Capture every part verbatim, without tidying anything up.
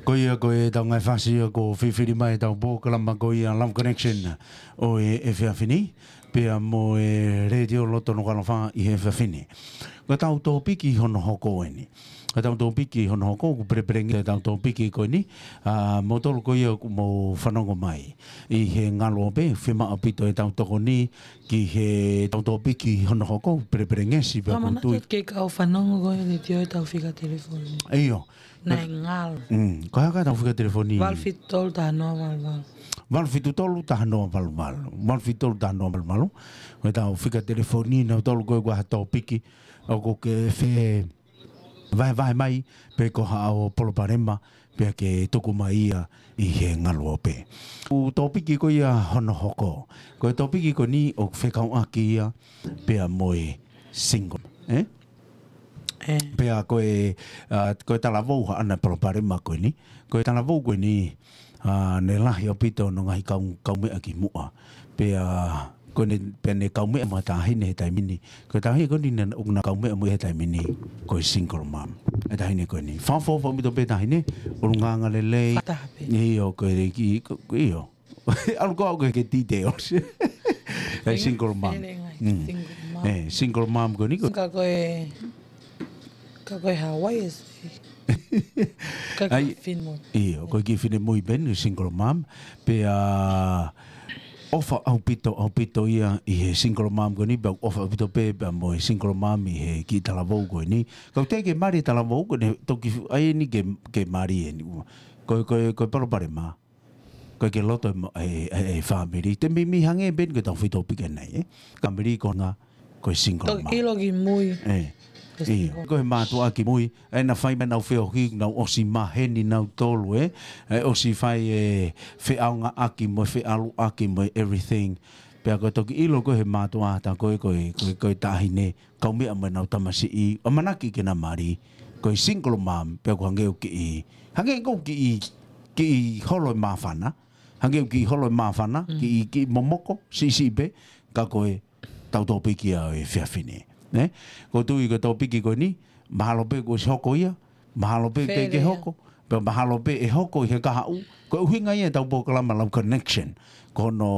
Ko ia ko e tau ngaahi fasi ia ko fifili mai tau polokalama ko ia Love Connection ʻo e efiafi ni, pea mo e Letiō Loto Nukuʻalofa ʻi he efiafi ni. Ko e tau tōpiki hono hoko eni. Ko e tau tōpiki hono hoko, ʻoku pelepelengesi e tau tōpiki ko eni, ʻa, mo tolu ko ia ʻoku mou fanongo mai ʻi he ngaluope, fiemaʻu ʻaupito e tau tokoni ki he tau tōpiki hono hoko, pelepelengesi pea Ka ʻoku manatu tui. Ke kau fanongo ko e Letiō e tau fika telefoni. ʻIo. Naʻe ngalo. Mm, ko e hā e tau fika telefoni? Valu fitu tolu taha noa valu valu. Valu fitu tolu taha noa valu valu. Valu fitu tolu taha noa valu valu. Ko e tau fika telefoni, naʻa tolu ko e ʻoku ʻi ai ha tōpiki ʻoku ke fevahevahe mai, pe ko haʻo palopalema, pea ke tuku mai ia ʻi he ngaluope. ʻA e tōpiki ko ia hono hoko. Ko e tōpiki ko eni ʻoku fekauʻaki ia, pea mo e single, ē? ʻE. Pea ko e, ʻa, ko e talavou haʻane palopalema ko eni. Ko e talavou ko eni, ʻa, naʻe lahi ʻaupito hono ngaahi kau, kaumeʻa kimuʻa. Pea ko ʻene, pea ne kaumeʻa mo e taʻahine he taimi ni. Ko e taʻahine ko eni naʻa, ʻoku na kaumeʻa mo ia he taimi ni, ko e single mom. E taʻahine ko eni. Fakaʻofoʻofa ʻaupito pē taʻahine, ʻulungaanga lelei. Fakataha pē. ʻIo, ko e ki, ko, ko, ʻio. ʻAlu ko au ke, ke details. E single mom. Ele ngai, Mm. single mom. ʻE, single mom ko eni ko. Ka ko e, ka ko e Hawaii ʻe se. Ka ko e Ai, finemui. ʻIo, ko e kiʻi finemui pē eni single mom. Pea ʻofa ʻaupito, ʻaupito ia ʻi he single mom ko eni, pea ʻofa ʻaupito pē, pea mo e single mom ʻi he kiʻi talavou ko eni. Kau te ke mali talavou ko eni, toki fu-, ʻai eni ke, ke mali eni. Ko, ko, ko e palopalema. Ko e ke loto e mo-, e, e, e family. Te mimi hangē pē eni ko e tau fito pike nei, ē. Family ko nga, ko e single Toki mom. ʻilo ki mui. ʻE. Ko e ʻIo. single. Ko e mātuʻa ki mui. ʻE na fai mai nau feohi, nau ʻosi maheni nau tolu, ē. ʻE ʻosi fai e feʻaongaʻaki mo e feʻaluʻaki mo e everything. Pea ko e toki ʻilo ko e he mātuʻa ta ko e, ko e, ko e, ko e taʻahine. Kaumeʻa mo ʻenau tamasiʻi, ʻamanaki ke na mali, ko e single mom, pea ʻoku hangē ʻoku kiʻi, hangē ʻoku kiʻi, kiʻi holo e māfana, hangē ʻoku kiʻi holo e māfana, Mm. kiʻi, kiʻi momoko, siʻisiʻi pē, ka ko e tau tōpiki ia ʻo e efiafi ni. Ne? Ko e tui ko e tōpiki ko eni, mahalo pē kuo ʻosi hoko ia, mahalo pē Fele teʻeki ia. hoko, pea mahalo pē ʻe hoko ʻi he kahaʻu, ko e ʻuhinga ia e tau polokalama Love Connection, ko hono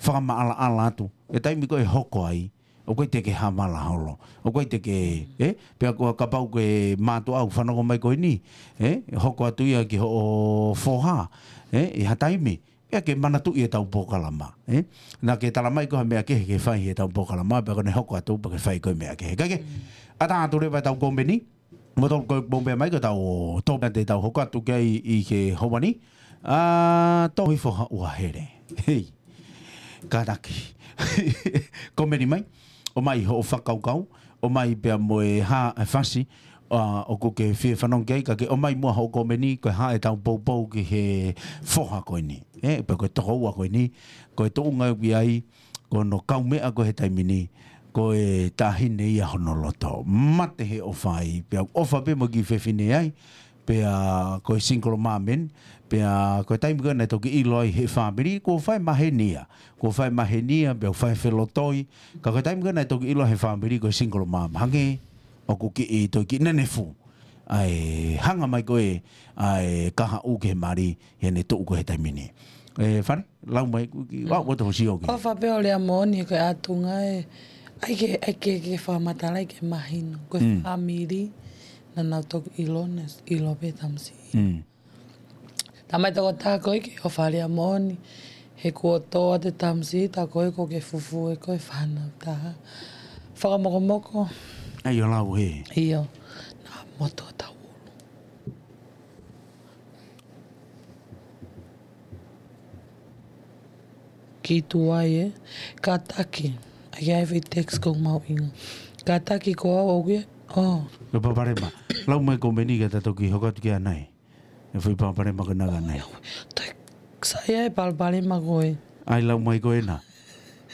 fakamaʻalaʻala atu, e taimi ko ē ʻe hoko ai, ʻoku ʻikai te ke havala holo. ʻOku ʻikai te ke, ē? Pea ko e kapau ko e mātuʻa ʻoku fanongo mai ko eni, ē? Hoko atu ia ki hoʻo foha, ē? ʻI ha taimi, pea ke manatuʻi e tau polokalama, ē? Naʻa ke tala mai ko ha meʻa kehe ke fai he tau polokalama, pea ko ʻene hoko atu pea ke fai ko e meʻa kehe. Kae kehe, Mm. ʻatā atu leva e tau kōmeni, Mo tau ko e pō pē mai ko e tau tō pē te tau hoko atu ki ai ʻi he houa ni. ʻA, tō hifo ha ua hele. Hei. Kātaki. Kōmeni mai. ʻOmai hoʻo fakakaukau. ʻOmai pea mo e hā e fasi. ʻA, ʻoku ke fie fanongo ki ai ka ke ʻomai muʻa hoʻo kōmeni ko e hā e tau poupou ki he foha ko eni. ʻE, pe ko e tokoua ko eni. Ko e tuʻunga ʻoku ʻi ai. Ko hono kaumeʻa ko ē he taimi ni, ko e taʻahine ia hono loto. Mate he ʻofa ai, pea ʻofa pē mo e kiʻi fefine ai, pea ko e single mom eni, pea ko e taimi ko ē naʻe toki ʻilo ai he fāmili, kuo fai maheni ia. Kuo fai maheni ia, pea fai felotoi, ka ko e taimi ko ē naʻe toki ʻilo he fāmili ko e single mom. Hangē, ʻoku kiʻi, toe kiʻi nenefu. ʻA e hanga mai ko ē, ʻa e kahaʻu ke mali, he ne tuʻu ko ē he taimi ni. ʻE, Fane? Lau mai, kuki, Mm. wa, wa to sio ki. ʻOfa pē ʻo lea moʻoni ko e ʻatunga ē. ʻAi ke, ʻai ke, ke fakamatala ai ke mahino. Ko e Mm. fāmili, naʻa nau toki ʻilo, naʻe ʻilo pē tamasiʻi. Mm. Tamai tokotaha ko ē ke ʻofa lea moʻoni. He kuo tō atu e tamasiʻi, tā ko ē ko ke fufū ē ko e fānau taha. Fakamokomoko. ʻAi ʻo lau he. ʻIo. Naʻa moto tau ulu. Ki tuai ē. Kātaki. ʻAi ai fai text ko mau inga. Kātaki ko au au ia. Oh. Ko e palopalema. Lau mai kōmeni ka ta toki hoko atu ki ai. E fai palopalema ko ena ka nai. Toe saiʻia e palopalema ko ē. ʻAi lau mai ko ena.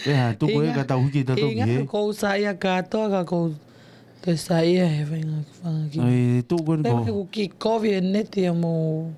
ʻE ha, tuku ē Inga, ka tau hiki ta toki inga he. Ko u saiʻia kātoa ka ko u toe saiʻia he fainga fanga ki. ʻAi, tuku ē Pea ko. He ku ki kovi e neti a mo.